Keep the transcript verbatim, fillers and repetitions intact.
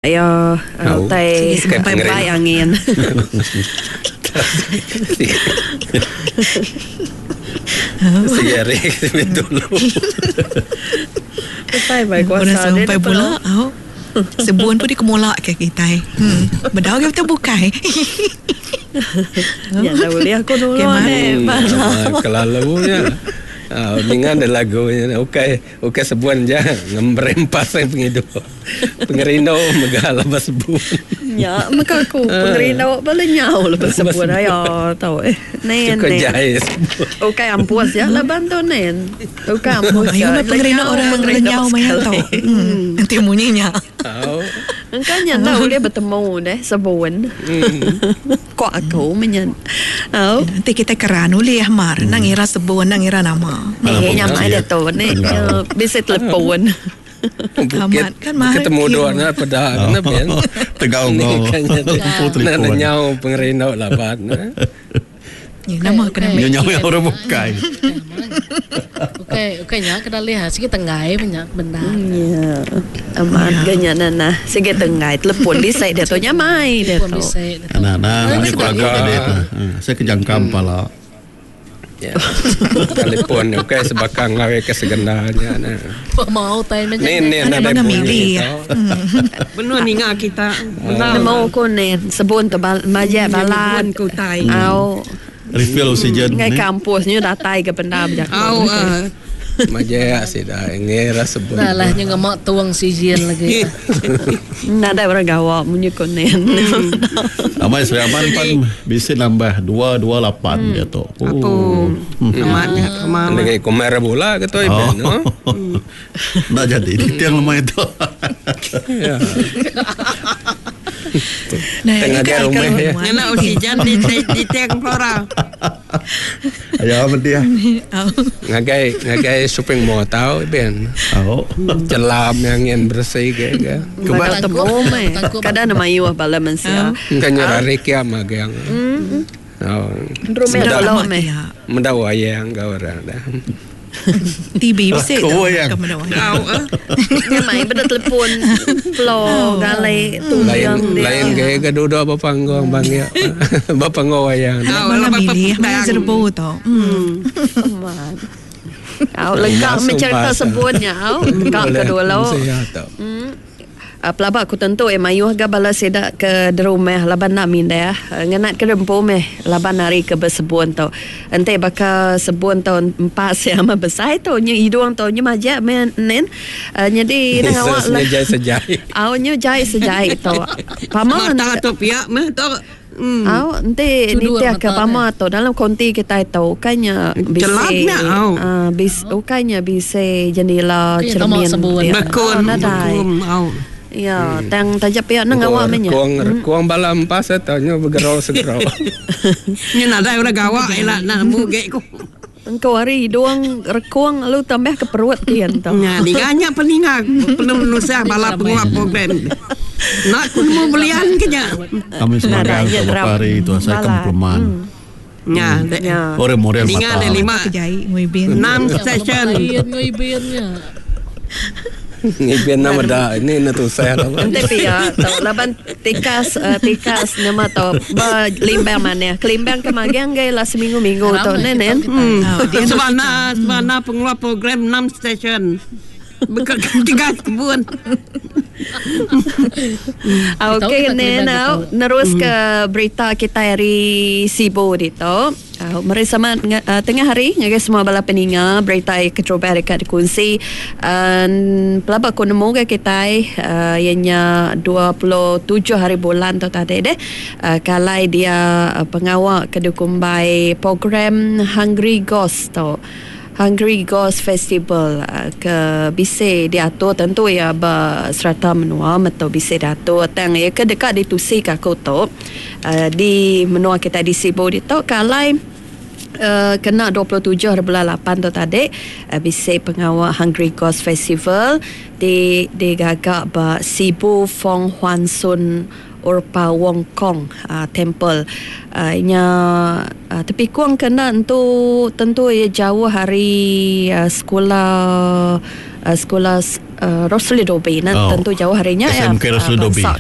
Ya, utai bai angin. Sige hari dulu. Utai bai kuasa dia pula. Sebun pun dikemulak ke kita. Hmm. Bedau ke betul bukai. Ya dah boleh aku dulu ni. Kelalunya. Ah, dengan ada lagu okey, okey sebuan je ngemrempas yang pengidu. Pengerindu megah lepas sebun. Ya, maka aku pengerindu bala nyau lepas sebun ayo tahu eh. Nen. Okey ampus ya laban tu nen. Okey ampus. Ayo pengerindu orang lenyau maya tu. Hmm. Nanti bunyinya. Oh. Engkau nya tahu boleh bertemu deh sebun. Kok aku menyen. Oh. Nanti kita keran ulih mar nang ira sebun nang ira nama. Eh, nyamai dia tu ni bisa telepon. Amat kan mahal. Ketemu dua na pada kena ben. Tegau ngau. Nak nyau pengerindu laban. Nama kena nyau yang orang bukai. Okey, okey nya kena lihat sikit tenggai banyak benda. Ya. Amat ganya nana sikit tenggai telepon bisa dia tu nyamai dia tu. Nah, nah, ni aku tadi tu. Saya kejangkam pala. Ya. Telefon okey sebakang ngawe ke segendanya nah. Mau tai macam ni ni ada bunyi. Benar ninga kita. Nemu ko ni sebun tu majak balan ku tai. Au. Refill oksigen ngai kampusnya datai ke benda berjaku. Au. Majak sida ngira sebun. Dah lah nya ngemak tuang oksigen lagi. Nada orang gawak munyi ko ni. Amai Sri Aman pan bisa nambah dua dua lapan dia tu. Oh. Amat amat. Dengan komer bola ke tu iben no. Nak jadi di tiang lemah itu. Ya. Nah, tengah dia rumah ya. Nak oksigen di di tiang flora. Ayo apa dia? Ngagai ngagai shopping mall tau iben. Oh. Celam yang ingin bersih ke ke. Kebal temu meh. Kadang nama iuh bala mensia. Kan nyari kia magang. Oh. Rumah dalam meh. Mendawa yang kau orang dah. T V bisa tu. Kau eh. Mai benda telefon floor gale tu lain lain ke ke duduk apa panggung bang ya. Bapa ngowayang. Malam ini mai serbu tu. Hmm. Au lengkap mencerita sebutnya au lengkap kedua lo. Hmm. Pelabak aku tentu eh mayuh ga bala sedak ke derumah laban nak mindah ngenat ke rempu meh laban hari ke bersebun tu. Ente baka sebun tu empat siama besar tu nyu hidung tu nyu majak men nen. Uh, jadi nang awak lah. Jai sejai. Au nyu jai sejai tu. Pama mata tu piak meh tu. Hmm. Au ente ni ke pama tu dalam konti kita tu kanya bisa ah bis ukanya bisa jendela cermin. Bekun au. Ya, hmm. Tang tajap pihak nang awak menya. Kuang kuang balam pas tanya bergerau segerau. Nya nadai orang gawak elak nak nemu gek ku. Engkau hari hidung rekuang lalu tambah ke perut kian tu. Nya diganya peninga penuh nusah bala penguap program. Nak ku nemu belian ke nya. Kami sebagai beberapa hari itu saya kompleman. Nya, orang model mata. Ninga ada lima. Enam session. Ngibinnya. Ngibin nama dah ini nak tusah lah. Nanti pia, tau laban tikas tikas nama tau limbang mana? Kelimbang ke magang gay lah seminggu minggu tau nenen. Sebana sebana pengeluar program enam station. Bekal tiga kebun. Okey nen, nerus ke berita kita hari Sibu dito. Uh, mari sama uh, tengah hari ngagai semua bala peninga berita kecoba dekat dikongsi. Uh, pelabak ku nemu ke kita uh, ianya dua puluh tujuh hari bulan tu tadi deh. Uh, kalai dia uh, pengawak ke dukumbai program Hungry Ghost tu. Hungry Ghost Festival uh, ke bisa diatur tentu ya berserata menua atau bisa diatur tang ya ke dekat ditusi ke aku tu uh, di menua kita di Sibu ditu kalai Uh, kena dua puluh tujuh hari bulan lapan tu tadi uh, bisa pengawal Hungry Ghost Festival di digagak ba Sibu Fong Huan Sun Urpa Wong Kong uh, Temple. Uh, nya uh, tepi kuang kena tentu tentu ya jauh hari uh, sekolah uh, sekula uh, Rosli Dobi. Nah, Oh. tentu jauh hari nya S M K ya. Rosli Uh, Dobi. bansa